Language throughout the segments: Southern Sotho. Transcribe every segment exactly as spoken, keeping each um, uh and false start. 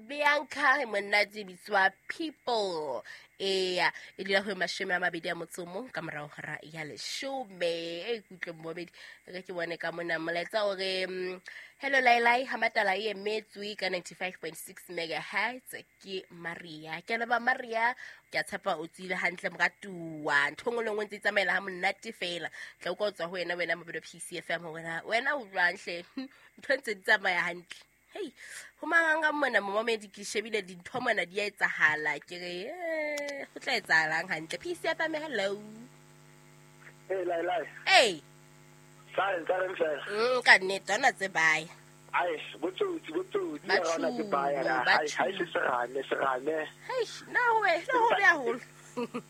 Bianca monate bitswa People. Eya, e dula ho mashome a mabedi a motso o mong ka morao hora ya leshome. E kutlwe momedi re ke bone ka mona molaetsa o re mm, hello Lailai ha matala e emetswe ka ninety-five point six megahertz ke Maria. Ke leba Maria, ke a tshepa o tsile hantle moratuwa. Ntho e nngwe le nngwe ntse e tsamaela ha monate fela. Tla utlwa o tswa ho wena wena Mabelo P C F M hore na wena o jwang hle. Ntho ntse di tsamaya hantle. Hei, ho manganga mona momedi ke shebile dintho mona di a etsahala. Ke re eh ho tla etsahalang hantle. P C F M, hello. Hey Lailai. Hey. Sa ntse re fela. Mm ka nnete ona tse baya. Ai, botsotsi botsotsi Ba ya rona tse baya la. ba Ai, hai se serame, serame. Hei, na we, na ho be haholo.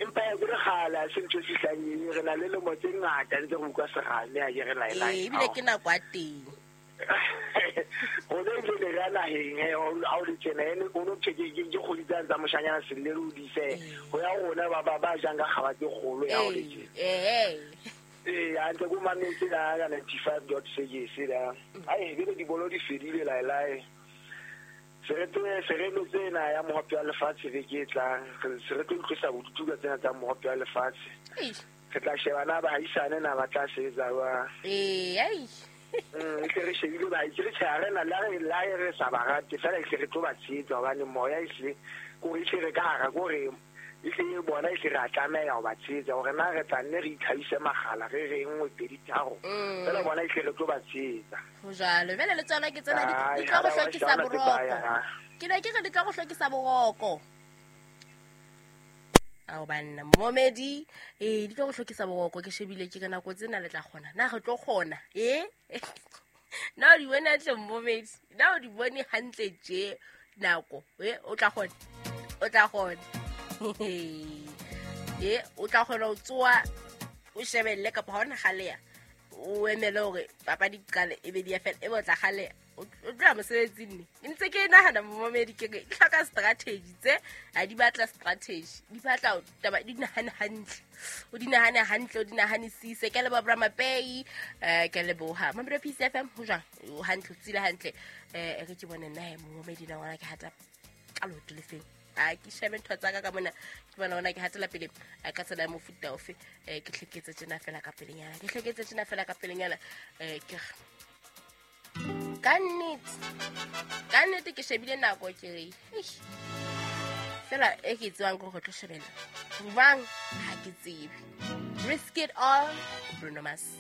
Empa ya ke re kgale, ha se ntho e fihlang eng, re na le lemo tse ngata ntse re utlwa serame, ha ke re Lailai. Ee, ebile ke nako ya teng. Rona ebile ne re ya naheng, he, ha o le tjena, ene o no thwe ke, ke, ke kgodi tsane tsa moshanyana Selele o di ise. Ho ya rona ba, ba, ba jang ka kgaba tse kgolo ya ho le tjena. Ee, Ee, hantle ko mametse la ka ninety-five dot six la. Ai, ebile dibolo di fedile Lailai. Se re tlo, se re lo tsena ya mohope wa lefatshe beke e tlang. Re se re tlo utlwisa bodutu ka tsena tsa mohope wa lefatshe. Eish. Re tla sheba na bahaisane na ba tla sebetsa jwang. Ee, ai. Mm, e tle re shebile ba itse re tjhe, ha re na le ha re, le ha re sa ba rate, fela e tle re tlo ba tshehetsa hobane moya e hle, kore e tle re ka hara, kore e tle bona e tle re a tlameha ho ba tshehetsa hore na re tla nne re itlhahise makgala, re re nngwe, pedi, tharo. Mm. Fela bona e tle re tlo ba tshehetsa. Ho jwalo. Jwale le tsona ke tsena di, Ai, di tlo go ha ba wa hlokisa shaba tse boroko. baya, ha. Ke ne ke re di tlo go hlokisa boroko. Ao banna, momedi, eh, di tlo go hlokisa boroko, ke shebile ke ka nako tsena le tla kgona. Na re tlo kgona, eh? Na o di bone hantle momedi? Na o di bone hantle tje nako, eh, o tla kgona? O tla kgona. Eh, o tla kgona ho tsoha, o shebelle kapa ha ona kgaleha, o emele hore papadi di qale, e be di a fela, e be o tla kgaleha. O tloha mosebetsing ne. Ke ntse ke nahana momedi ke re, di hloka strategy tse, ha di batla strategy, di batla taba di nahane hantle. O di nahane hantle, o di nahanisise. Ke leboha Bra Mapei, eh, ke leboha Mabelo P C F M, ho jwang? O hantle, o tsile hantle. Eh, e re ke bone nna he momedi na ngwana ke hata ka leoto le feng. A ke shebe ntho tsa ka ka mona, ke bona hona ke hatela pele, a ka tsela ya mofuta ofe. Eh, ke hleketse tjena fela ka pelenyana, ke hleketse tjena fela ka pelenyana. Eh, ke re, ka nnete, ka nnete ke shebile nako ke re, eish, fela e ke e tsebang ke hore re tlo shebella jwang ha ke tsebe. Risk It All, Bruno Mars.